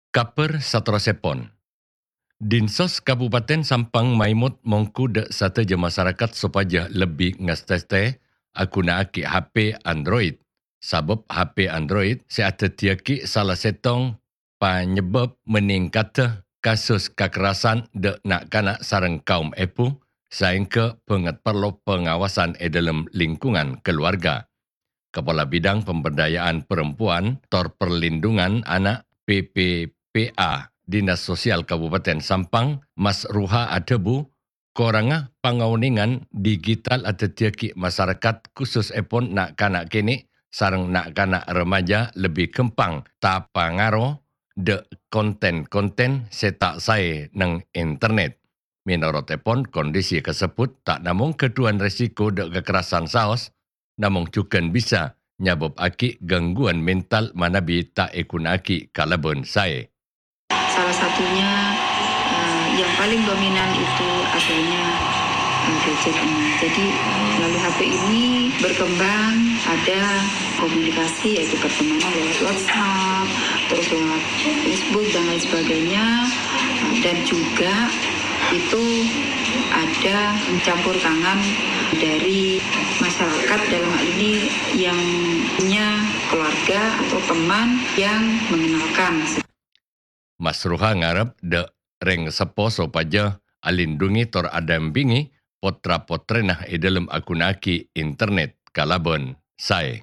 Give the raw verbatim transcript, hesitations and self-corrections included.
Kabhâr saterrossèpon. Dinsos Kabupaten Sampang maèmot mongghu dâ' sadhâjâ masarakat sopajâ lebbi ngastèstè aghunaaghi H P Android, sabâb H P Android sè adhâddhiyâghi sala sèttong panyebâb meningkaddhâ kasus kakerasan dâ' na'-kana' sareng kaum èbhu, saèngghâ bângèt parlo pangawasan è dâlem lingkungan kaluwarga. Kepala Bidang Pemberdayaan Perempuan tor Perlindungan Ana', P P P A, Dinas Sosial Kabupaten Sampang, Mas Ruha adhâbu, korangnga pangaonèngan digital adhâddhiyâghi masarakat, khusussèpon na'-kana' kènè' sareng na'-kana' remaja lebbi ghâmpang tapangaro dâ' konten-konten sè ta' saè neng internet. Mènorotèpon, kondisi kasebbhut ta' namong ghâdhuwân resiko dâ' kakerasan saos, namong jhughân bisa nyabâbbhâghi gangguwân mental manabi ta' èghunaaghi kalabân saè. Salah satunya, eh, yang paling dominan itu adanya, eh, gadget ini. Jadi, melalui H P ini berkembang, ada komunikasi, yaitu pertemanan lewat WhatsApp, terus lewat Facebook, dan lain sebagainya. Dan juga itu ada campur tangan dari masyarakat, dalam hal ini yang punya keluarga atau teman yang mengenalkan. Mas Ruha ngarep dâ' rèng seppo sopajâ alindhungi tor adampingi potra-potrèna è dâlem aghunaaghi internet kalabân saè.